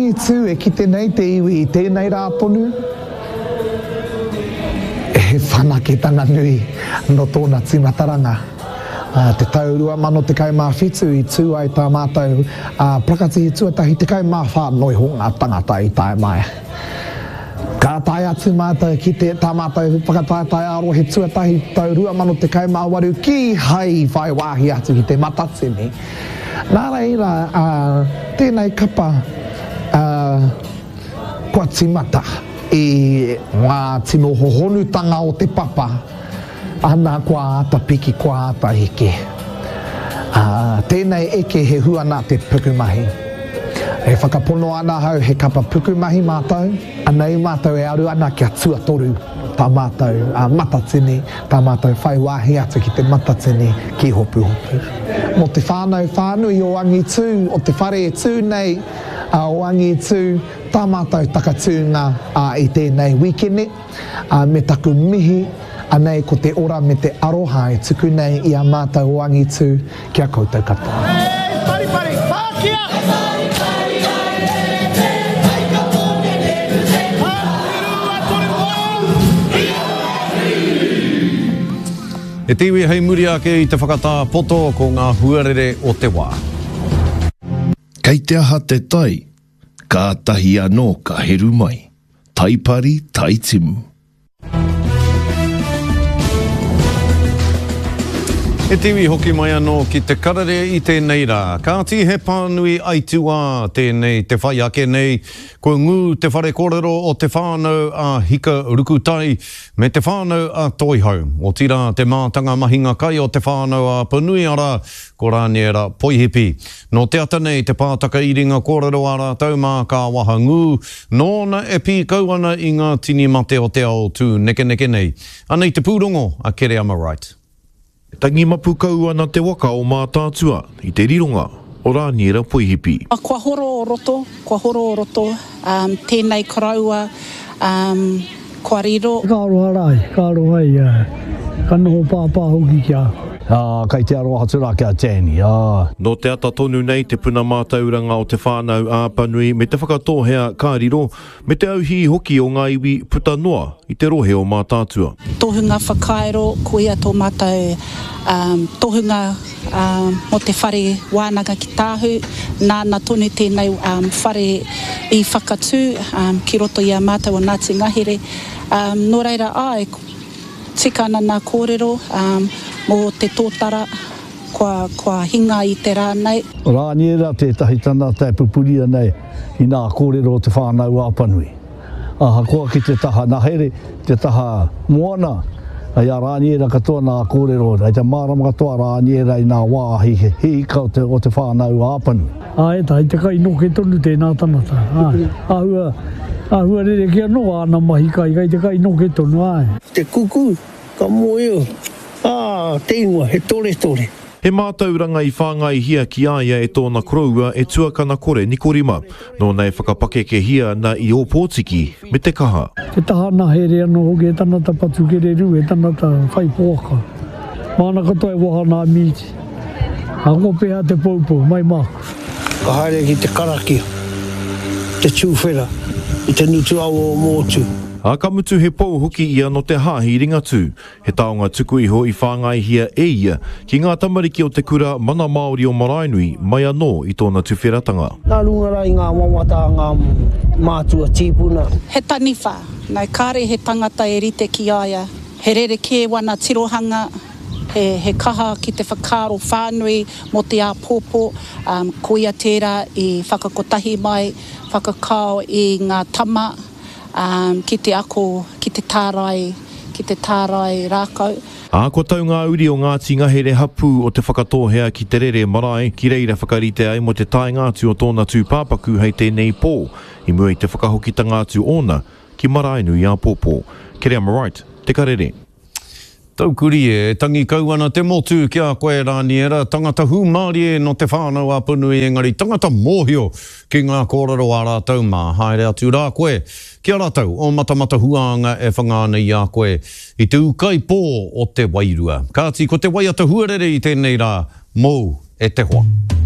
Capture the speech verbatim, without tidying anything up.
Angitū e kite nei te iwi i tēnei rā tonu, he whanaketanga nui nō tōna tīmataranga. Te tau rua mano tekau mā whitu i tū ai tā mātou parakatihi tuatahi tekau mā whā noiho ngā tangata i tae mai. Ka tae atu mātou ki te tā mātou whakataetae ā-rohe tuatahi tau rua mano tekau mā waru kīhai i whai wāhi atu ki te Matatini. Nā reira, tēnei kapa kua tīmata i ngā tino hohonutanga o te papa, ana kua āta piki, kua āta eke. Ā, tēnei eke he hua nā te pukumahi. E whakapono ana ahau he kapa pukumahi mātou, anei mātou e aru ana kia tuatoru tā mātou Matatini, tā mātou whai wāhi atu ki te Matatini ki Hopuhopu. Mō te whānau whānui o Angitū, o te whare e tū nei o Angitū, tā mātou takatūnga i tēnei wīkene, me taku mihi, anei ko te ora me te aroha e tuku nei i a mātou o Angitū ki a koutou katoa. Hei paripari, pākia! E te iwi hei muri ake i te whakatā poto ko ngā huarere o te wā. Kei te aha te tai, kātahi anō ka heru mai. Taipari, taitimu. E te iwi hoki mai anō ki te karere i tēnei rā. Kāti he pānui aituā tēnei te whai ake nei. Kua ngū te whare kōrero o te whānau a Hika Rukutai me te whānau a Toihau. Otirā te mātanga mahinga kai o te whānau a Apanui arā ko Rāniera Poihipi. Nō te ata nei te pātaka iringa kōrero a rātou mā ka waha ngū, nōna e pīkau ana i ngā tini mate o te ao tū nekeneke nei. Anei te pūrongo a Kereama Wright. Tangi mapu kau ana te waka o Mātaatua i te rironga o Rāniera Poihipi. Kua horo o roto, kua horo o roto, um, tēnei koroua, um, kua riro. Ka aroha rā, ka aroha ia, ka noho pāpā hoki ki a. Ā, kei te aroha atu rā ki a Danny, ā. Nō te ata tonu nei te puna mātauranga o Te Whānau a Apanui me Te Whakatōhea ka riro, me te auhī hoki o ngā iwi puta noa i te rohe o Mātaatua. Tohunga whakairo, ko ia tō mātou um, tohunga um, mō te whare wānanga ki Tāhu, nāna tonu tēnei um, whare i whakatū um, ki roto i a mātou o Ngāti Ngahere. Um, nō reira, āe, tika ana nā kōrero um, mō te tōtara kua, kua hinga i te rā nei. Rāniera tētahi tangata e pupuri ana i nā kōrero o Te Whānau a Apanui. Ahakoa ki te taha nahere, te taha moana, i a Rāniera katoa nā kōrero, i te mārama katoa a Rāniera i nā wāhi hīka o te, o te Whānau a Apanui. Āe, tai te kai noke tonu tēnā tangata. Āe, āhua, āhua rerekē anō āna mahi kai, kai te kai noke tonu, āe. Te kuku, ka moe, ā, te ingoa, he toretore. He mātauranga i whāngaihia ki a ia e tōna koroua e tuakana kore Nikorima, nōna e whakapakekehia ana i Ōpōtiki me te kaha. Te taha nahere anō hoki, he tangata patu kererū, he tangata whai poaka. Māna katoa e waha nā mīti. Ahakoa pēhea te poupou, mai māku. Ka haere ki te karakia, te tūwhera i te ngutu awa o Mōtū. Ā, ka mutu he pou hoki ia nō te Hāhi Ringatū. He taonga tuku iho i whāngaihia e ia ki ngā tamariki o te kura Mana Māori o Maraenui mai anō i tōna tuwheratanga. Nā runga rā i ngā wawata a ngā mātua tīpuna. He taniwha, no, kāre he tangata e rite ki a ia. He rerekē wana tirohanga, he, he kaha ki te whakaaro whānui mō te āpōpō, um, ko ia tērā i whakakotahi mai, whakakao i ngā tama, um, ki te ako, ki te tārai, ki te tārai rākau. Ā, kua tau ngā uri o Ngāti Ngahere hapū o Te Whakatōhea ki Te Rere marae, ki reira whakarite ai mō te taenga atu o tōna tūpāpaku hei tēnei pō, i mua i te whakahokitanga atu ōna ki Maraenui āpōpō. Kereama Wright, Te Karere. Taukuri e, tangi kau ana te motu ki a koe Rāniera, tangata hūmārie nō Te Whānau a Apanui engari tangata mōhio ki ngā kōrero a rātou mā. Haere atu rā koe ki a rātou o Matamata Huānga e whanga ana i a koe i te ūkaipō o te wairua. Kāti ko te waiata huarere i tēnei rā mōu e te hoa.